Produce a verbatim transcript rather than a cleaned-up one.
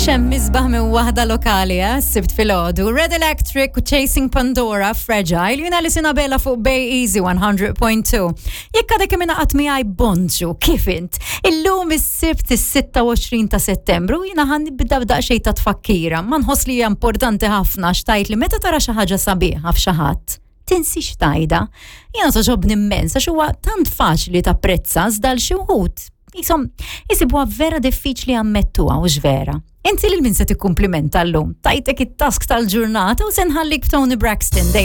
X'hemm isbaħ minn waħda lokali, eh? Sibt filgħodu. Red Electric u Chasing Pandora, Fragile, jiena li Sinabela fuq Bay Easy one hundred point two. Jekk għadek kemm ingħaqadt miegħi, bonġu, kif int? Illum is-Sibt is-sitta u għoxrin ta' Settembru, jiena ħa nibda b'daqsxejn ta' tfakkira. Ma nħoss li hija importanti ħafna xtajt li meta tara xi ħaġa sabiħa f'xi ħadd, tinsix tgħidha. Jiena togħġobni immens, għax huwa tant faċli tapprezza, iżda l xi wħud jisom jisibuha vera diffiċli jammettuha, u vera. Inti lil min se tikkumplimenta llum? Tajtek it-task tal-ġurnata u se nħallik b'Toni Braxton dejjem.